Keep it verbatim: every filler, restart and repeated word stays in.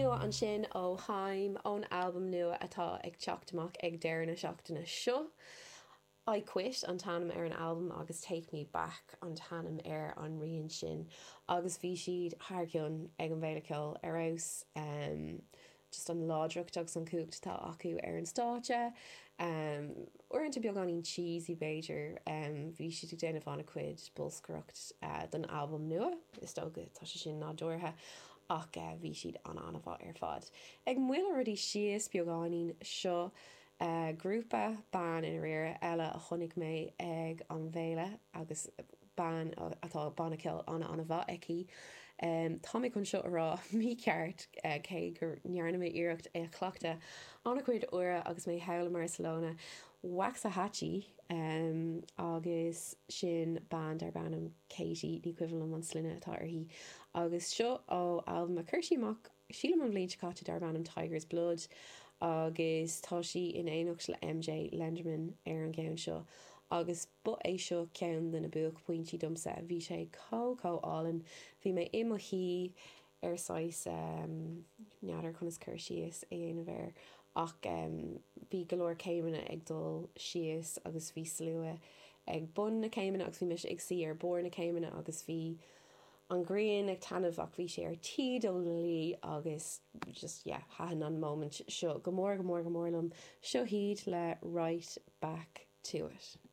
nua ansin ó Haim ón albam nua atá ag teacht amach ag deireadh na seachtaine seo. I Quit an t-ainm ar an albam agus Take Me Back an t-ainm ar an rian sin agus bhí siad thar cionn ag an bhFéile Ceoil ar fheabhas um, just an láidreacht agus an chumhacht atá acu ar an stáitse. Um, uaireanta beagáinín cheesy b'fhéidir um, bhí siad ag déanamh an-chuid bolscaireacht uh, don albam nua is dócha tá sé sin nádúrtha ach uh, bhí siad an an-mhaith ar fad. Ag moilleadh rudaí síos beagáinín seo uh, grúpa ban in réire eile a chonaic mé ag an bhféile agus bean atá banna ceoil an an-mhaith aici. Um, tá mé chun seo a rá mícheart uh, cé gur ndearna mé iarracht é a chleachtadh an-chuid uaire agus mé thall i Barcelona Waxahatchee um, agus sin bean darb ainm Katie ní cuimhin liom an sloinne atá uirthi agus seo ó albam a chuir sí amach sílim an bhliain seo caite darb ainm Tiger's Blood agus tá sí in éineacht le MJ Lenderman ar an gceann seo agus ba é seo ceann de na buaicphointí domsa bhí sé chomh chomh álainn bhí mé i mo shuí ar saghas um, n'fheadar conas cur síos a dhéanamh air ach um, bhí go leor céimeanna ag dul síos agus bhí slua ag bun na céimeanna agus bhí mise ag suí ar bharr na céimeanna agus bhí an ghrian ag taitneamh ach bhí sé ar tí dul lí agus just yeah, thaitin an moment seo go mór go mór go mór liom seo hiad le right back to it.